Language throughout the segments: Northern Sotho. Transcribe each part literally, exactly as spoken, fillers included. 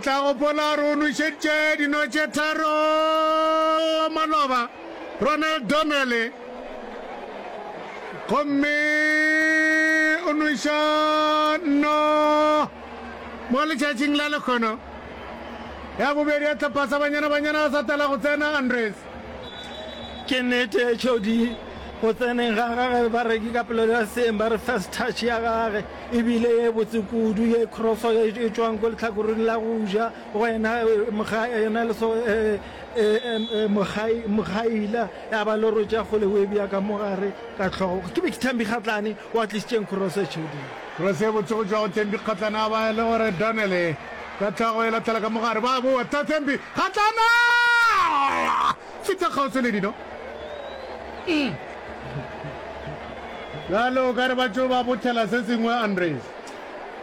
tla gopola gore o nwešeditše dino tše tharo maloba Ronald Donnelly gomme o nweša nno mo letšatšing la lekgono ya bobedi ya tlhopha sa Banyana Banyana sa tala go tsena Andres. Ke nnete H O D go tseneng ga gage ba re ke ka polelo ya seeng ba re first touch ya gage e bile ye botse kudu ye crosso ye e tšwang ko lehlakoreng la go ja go yena yena le so Mogai Mogaila ya ba le rotša kgole o e bea ka mo gare ka hlogo ke be ke Thembi Kgatlane wa tlišitšeng crosso H O D. Cross e botse go tšwa go Thembi Kgatlane a ba e le gore Donnelly ka hlogo e lahlela ka mo gare ba boa Thembi Kgatlane fihla kgauswi le dino. Bjale o ka re ba tšo ba bothela se sengwe, Andres.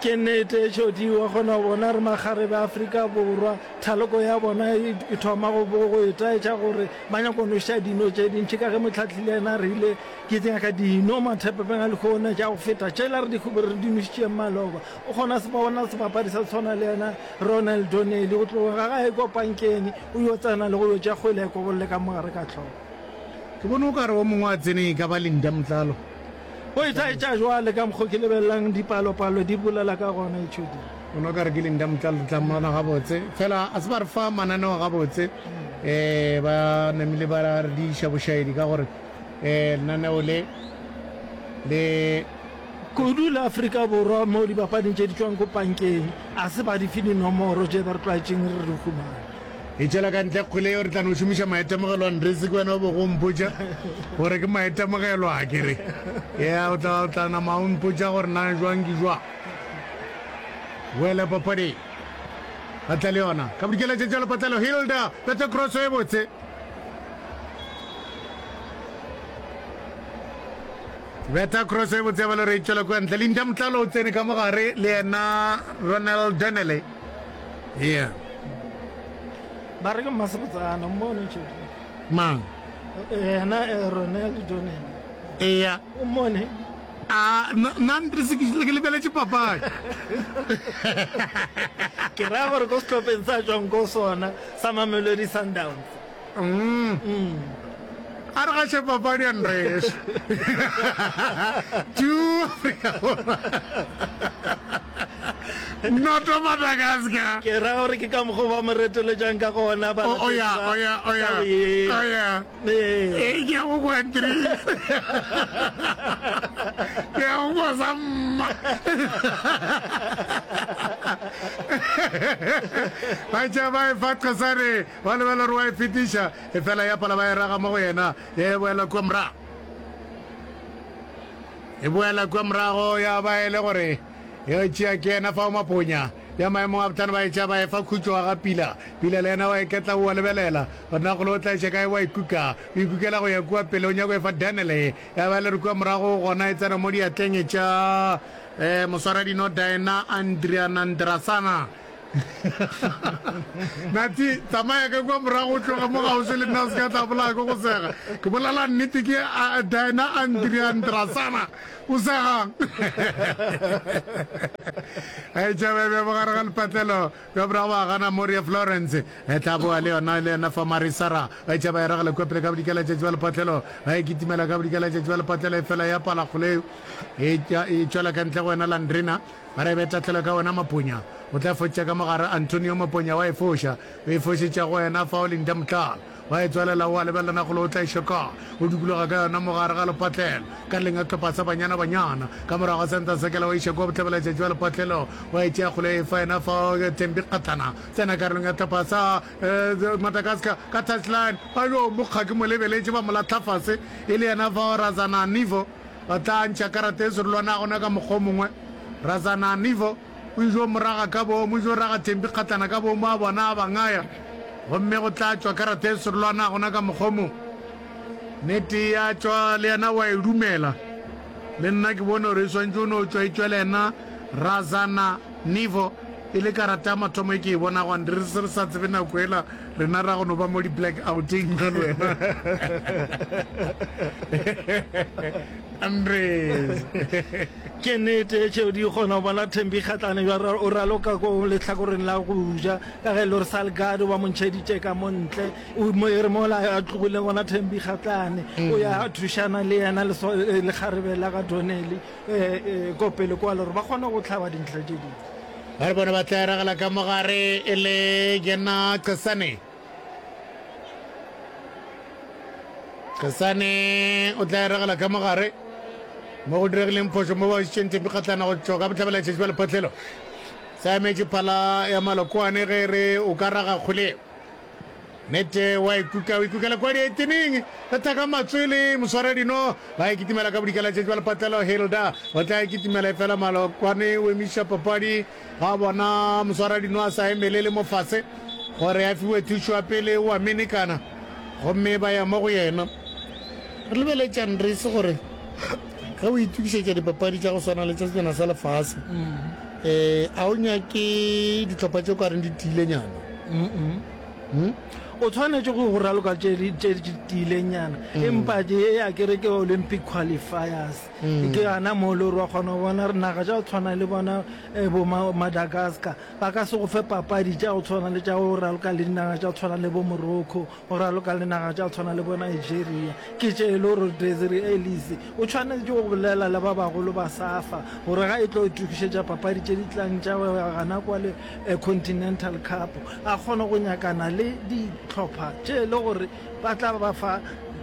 Ke nnete, H O D, wa kgona go bona re makgarebe a Afrika Borwa, thaloko ya bona e thoma go go itaetša gore ba nyaka go nweša dino tše dintši ka ge mohlahli le yena a rile ke nyaka dino mathepepeng a lehono tša go feta tšela re di re di nwešitšeng maloba. O kgona se bona sebapadi sa tshwana le yena Ronald Donnelly go tloga ga gae ko pankeng o yo tsena le go yo tša kgwele a ikobolle ka mogare ka hlogo. Ke bone o ka re o mongwe a tsene e ka ba Linda Mtlalo. O itaetša jwale ka mokgo ke lebelelang dipalopalo di bolela ka gona H O D. O no ka re ke Linda Mtlalo re tla mmona gabotse fela a se ba re fa mananeo gabotse um ba namile ba re diša bošaedi ka gore um lenaneo le le Kudu la Afrika Borwa mo dipapading tše di tšwang ko pankeng a se ba di fe dinomoro tše ba re tlwaetšeng re di humana. E tšwela ka ntle kgwele yeo re tla no šomiša maitemogelo Andres ke wena o bego o mpotša gore ke maitemogelo a ke re ya o tla o tla nama o mpotša gore na jwang ke jwang boele papading ba tla le yona ka bodikela tše tša lepatlelo Hilda betha cross e botse betha cross e botse ya balo re e tšwela kua ntle Linda Motlalo o tsene ka mogare le yena Ronald Donnelly yeah Ba re ke mmasebotsana mmone tšedi. Mang? Yena eh, Ronald Donnelly. Eya. O mmone? A nna Andres ke ke lebeletše papadi. Ke ra gore ko sehlopheng sa tšwang ko sona sa Mamelodi Sundowns. Mm. Mm. A re gaše papadi Andres. Two Afrika Borwa. Noto Madagascar. Ke ra gore ke ka mokgwa ba mo retoletšang ka gona ba Oh, oh ya, oh ya, oh ya. Oh ya. Ee, ke ya go kwa Andres. Ke ya go kwa sa mma. Ba tšea ba e fa Qhosane, ba lebela gore wa e fetiša, efela ya pala ba e raga mo go yena, ya e boela kua morago. E boela kua morago ya ba e le gore e tšea ke yena fao Maponya ya maemong a bohlano ba e tšea ba e fa Khutšo wa ga Pila. Pila le yena wa iketla o a lebelela gore na kgole o tla iša kae wa ikuka. O ikukela go ya kua pele o nyaka go e fa Daniel ya ba e le gore kua morago gona e tsena mo diatleng tša eh, moswaradino Diana Andrianandrasana. Nati, tsamaya ka kua morago o tloge mo gauswi le nna o se ka tla bolaya ke go sega. Ke bolela nnete ke Diana Andriandrasana. O segang. E tšabe bja bogare ga lepatlelo bja morago ba gana Moria Florence. E tla boa le yona le yena fa Marisara. Ba tšaba e ragela kua pele ka bodikela tšatši ba lepatlelo. Ba e kitimela ka bodikela tšatši ba lepatlelo e fela ya pala kgole e tšwela ka ntle go wena Landrina. Ba re be tahlelo ka wena Maponya. O tla fotša ka mogare Antonio Maponya wa e foša. O e fošetša go wena fao Linda Motlala. Wa e tswalela o a lebelela na golo o tla e šoka. O dikologa ka yona mogare ga lepatlelo. Ka leng a hlopha sa Banyana Banyana. Ka morago ga senta sekela wa iša kua bohlabela tšatši wa lepatlelo. Wa e tšea kgolo e fa yena fao Thembi Kgatlana. Tsena karolong ya hlopha sa Madagascar ka touchline. Ba yo mokga ke mo lebeletše ba mo lahla fase e le yena fao Razana Nivo. Ba tla ntšha karata e serolwana gona ka mokgwa o mongwe. Razana Nivo o ijo mo raga ka boomo, o ijo raga Thembi Kgatlana ka boomo a bona a ba ngaya. Gomme go tla tšwa karata e serolwana gona ka mokgwa o mongwe. Nnete ya tšwa le yena wa e dumela. Le nna ke bone gore e swantše o no tšwa e tšwele yena Razana Nivo E le karata ya mathomo e ke e bonago, Andre, re se re sa tsebe nako ela rena ra go no ba mo di-black outeng nna le wena. Andres. Ke nnete tšeo di kgona go bona Thembi Kgatlana bja o raloka ko lehlakoreng la go ja ka ge e le gore Salgado ba mo ntšheditše ka mo ntle. O mo e re mola a tlogileng gona Thembi Kgatlane o ya a thušana le yena le lekgarebe la ga Donnelly ko pele kwa le gore ba kgone go hlaba dintlha tše dingwe. Ba re bona ba tla eragela ka mogare e le yena Qesane. Qesane o tla eragela ka mogare mo go diregileng phošo mo ba išitšeng Thembi Kgatlana go tšwa ka bohlabela tšatši ba lephatlelo. Sa emetše phala ya Malokoane ge e re o ka raga kgwele. Nete wa ikuka, o ikukela kua dieteneng, ka thaka matswele, moswaradino, ba e kitimela ka bodikela tšatši ba lepatlelo, Hilda o tla e kitimela efela Malokwane o emiša papadi ga bona moswaradino a sa emelele mo fase gore a fiwe thušo ya pele, o a menekana gomme ba ya mo go yena. Re lebeletše Andries gore ge o itokišetša dipapadi tša go swana le tša Sejana sa Lefase, um a o nyake dihlopha tše o ka reng di tiilenyana? Hmm? O tshwanetše go go raloka tše di tše di tiilenyana, mm. empa ke ya ke re ke Olympic qualifiers. Mm. Ke gana mo le gore wa kgona go bona re naga tša go tshwana le bona eh, bo Madagascar ba ka se go fe papadi tša go tshwana le tša go raloka le dinaga tša go tshwana le bo Morocco, go raloka le naga tša go tshwana le bo Nigeria. Ke tše e le gore Desiree Ellis o tshwanetše go bolela le ba bagolo ba SAFA gore ga e tlo itokišetša papadi tše di tlang tša go ya gana kwa le Continental Cup a kgone go nyakana le dihlopha tše e le gore ba tla ba fa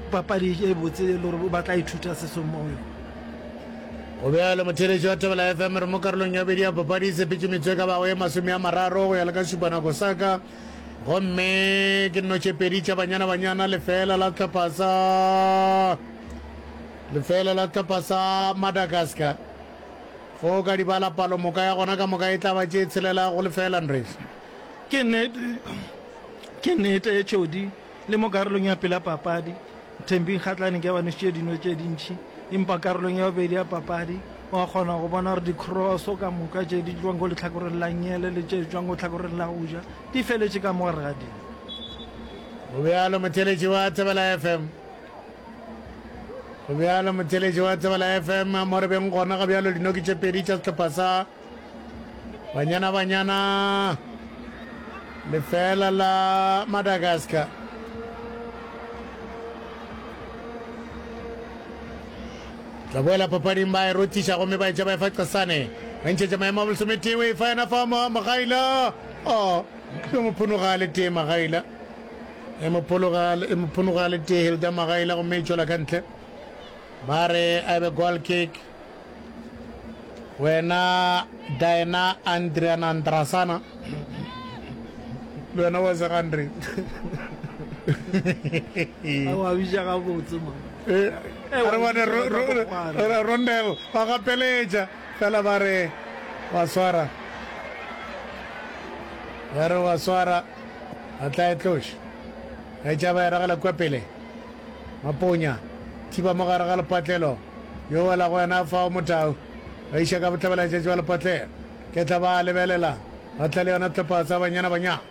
papadi e botse e le gore ba tla ithuta se sengwe mo go yona. Go bjalo, motheeletši wa Thobela F M, re mo karolong ya bobedi ya papadi, e sepetše metsotso e ka bago ye masome a mararo go ya le ka šupanako sa ka, gomme ke nno tše pedi tša Banyana Banyana, lefeela la sehlopha sa lefeela la sehlopha sa Madagascar. Ge o ka di bala, palomoka ya gona ka moka e tla ba tše tshelela go lefeela, Andres. Ke nnete, ke nnete, Jody, le mo karolong ya pele ya papadi, Thembi Kgatlane ke ba nwešitše dino tše dintši, empa karolong ya bobedi ya papadi, wa kgona go bona gore dikroso ka moka tše di tšwang ko lehlakoreng la nngele le tše tšwang ko lehlakoreng la go ja di feletše ka mo gare ga dino. Go bjalo, motheeletši wa Thobela F M. Go bjalo, motheeletši wa Thobela F M, mo re beng gona ga bjalo dinoki tše pedi tša sehlopha sa Banyana Banyana lefeela la Madagascar. Tla boela papading ba e rothiša gomme ba etša ba efa Qasane. Ba ntšhetša maemo a bolesometee o efa yena fa Magaila. Oh, e mo phonoga le tee Magaila. E mo phologa e mo phonoga le tee Hilda Magaila gomme e tšwela ka ntle. Ba re a be goal kick. Wena Diana Andriana Andrasana. Le wena wa sega Andre. A wa bitša gabotse man. Eh, a re bone Rondel ba gapeletša fela ba re wa swara. Ba re wa swara. A tla e tloša. A e tšaba e ragela kua pele. Maponya, thiba mo gare ga lepatlelo. Yo wela go yena fao Motau. Ba iša ka bohlabela-tšatši ba lepatlelo. Ke tla ba lebelela. Ba tla le yona hlopha sa Banyana Banyana.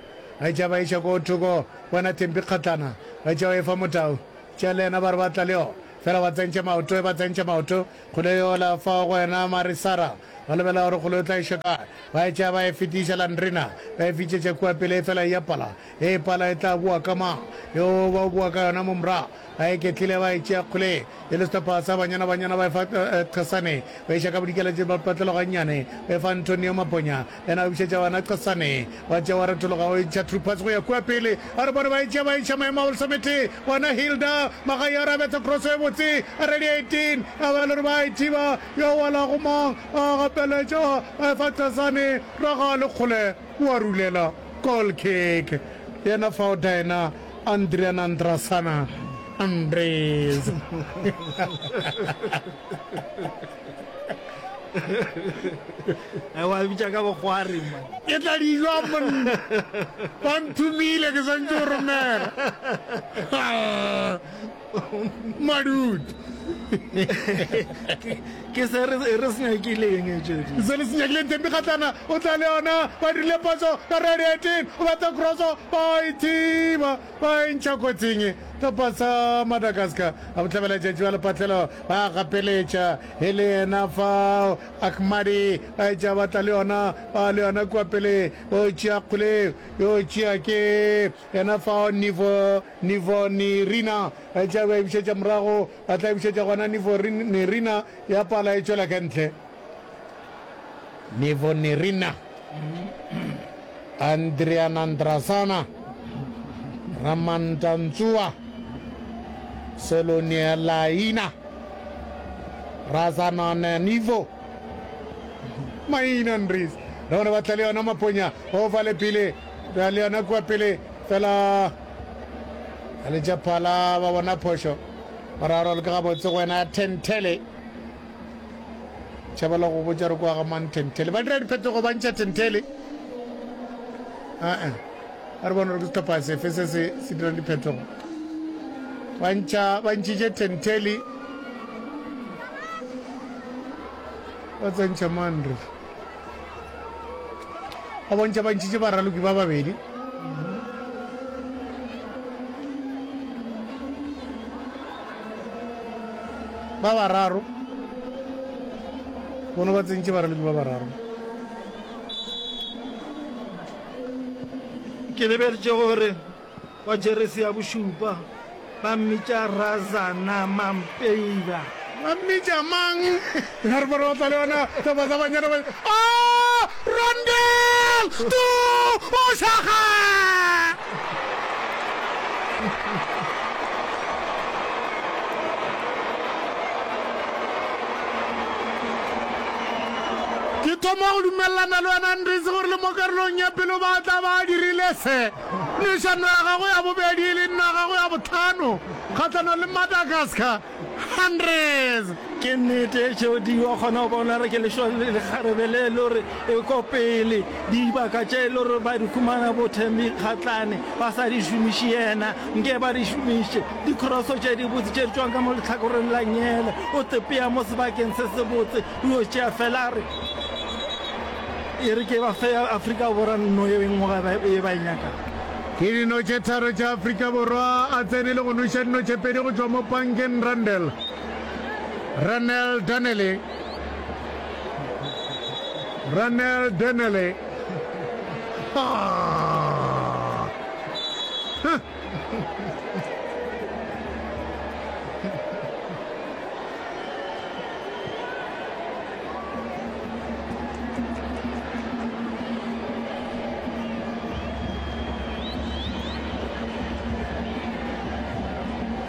Ba etša ba iša ko thoko wena Thembi Kgatlana. Ba etša ba efa Motau. Tša le yena ba re ba tla le yona. Fela ba tsentše maoto, ba tsentše maoto. Kgole yola fao go wena Marisara. Ba lebelela gore kgole o tla iša kae. Ba etša ba e fetiša Landrina. Ba e fitšetša kua pele efela e ya pala. Ge e pala e tla boa ka mang? Yo ba o boa ka yona mo morago. Ba iketlile ba e tšea kgole e le sehlopha sa Banyana Banyana ba e fa Qhasane. Ba iša ka bodikela tše patlelo gannyane. Ba e fa Antonio Maponya. Yena a bušetša bana Qhasane. Wa tšea wa retologa o ntšha true pass go ya kua pele. A re bone ba e tšea ba iša maemo a bolesometee. Bona Hilda Magaia a re a betha cross e botse. A ready eighteen. A ba le gore ba e thiba. Yo welago mang? A gapeletša ba e fa Qhasane. Raga le kgole wa rulela. Goal kick. Yena fao Diana Andrianandrasana Andres. Wa bitša ka bokgwari man. Ke tla di jwa monna. Ba nthomile ke swantše go romela. Madutu. Ke se re re se nyakileng e tšedi. Se le se nyakileng Thembi Kgatlana o tla le yona ba dirile phoso ka red eighteen o betha crosso ba e thiba ba e ntšha kotsing hlopha sa Madagascar a bohlabela tšatši ba lepatlelo ba gapeletša e le yena fao Ahmadi ba etša ba tla le yona ba le yona kua pele o tšea kgole yo tšea ke yena fao Nivo Nivo Nirina ba etša ba e bušetša morago ba tla e bušetša gona Nivo Nirina ya pala e tšwela ka ntle Nivo Nirina Andrianandrasana Ramantantsua Solonialaina Razanananivo maina Andries re bone ba tla le yona Maponya o fa le pele ba le yona kua pele fela a letša phala ba bona phošo mararo le ka gabotse go wena Tentele tšhabela go botša re kwa ga mang Tentele ba dira diphetogo ba ntšha Tentele aa a re bone gore ke sehlopha sefe se se se dirang diphetogo ba ntšha ba ntšhitše Tentele ba tsentšha mandre ba bontšha ba ntšhitše baraloki ba babedi ba bararo bona ba tsentše baraloki ba bararo Ke lebeletše gore wa jeresi ya bošupa ba mmitša Razana Mampeila. Ba mmitša mang? Ya re bona ba tla le yona sehlopha sa Banyana ba Ah! Rondel! Tu! O šaga! Ke thoma go dumelelana le wena Andries gore le mo karolong ya pele ba tla ba dirile se. Nešano ya gagwe ya bobedi e le nno ya gagwe ya bohlano kgahlanong le Madagascar. Andries! Ke nnete Jody, wa kgona go bona gore ke lekgarebe le le gore e ko pele. Dibaka tše e le gore ba di humana bo Thembi Kgatlane ba sa di šomiše yena nke ba di šomiše. Dikroso tše dibotse tše di tšwang ka mo lehlakoreng la nyele o tepea mo sebakeng se sebotse o yo tšea fela a re e re ke ba fe Afrika Borwa nno ye nngwe ye ba e nyakang. Ke dino tše tharo tša Afrika Borwa a tsene le go noša dino tše pedi go tšwa mo pankeng Randall Ranel Donnelly Ranel Donnelly ah. Huh.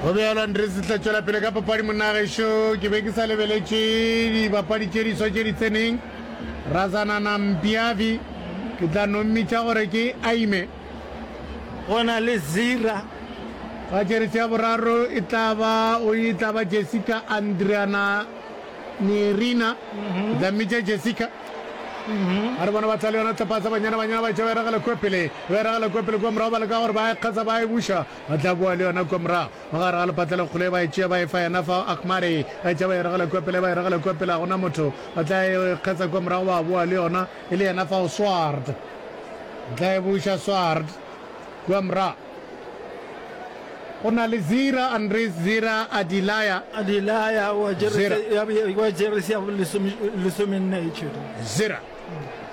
Go bjalo, Andres tla tšwela pele ka papadi monna gešo. Ke be ke sa lebeletše dibapadi tše diswa tše di tseneng. Razanana Mpiavi, ke tla no mmitša gore ke Aime. Go na le Zira. Ka jeresi ya boraro e tla ba o e tla ba Jessica Andriana Nirina. Ke tla mmitša Jessica. A re bona ba tla le yona tlhopha sa Banyana Banyana ba tšea ba e ragela kua pele, ba e ragela kua pele kua morago ba leka gore ba e kgatsa ba e buša ba tla boa le yona kua morago mo gare ga lepatlelo kgole ba e tšea ba e fa yena fa Ahmadi ba e tšea ba e ragela kua pele ba e ragela kua pele ga gona motho ba tla e kgatsa kua morago ba boa le yona e le yena fao Swart tla e buša Swart kua morago go na le Zira Andres Zira Adilaya Adilaya wa jeresi ya wa jeresi ya lesome lesomenne e tšhwere Zira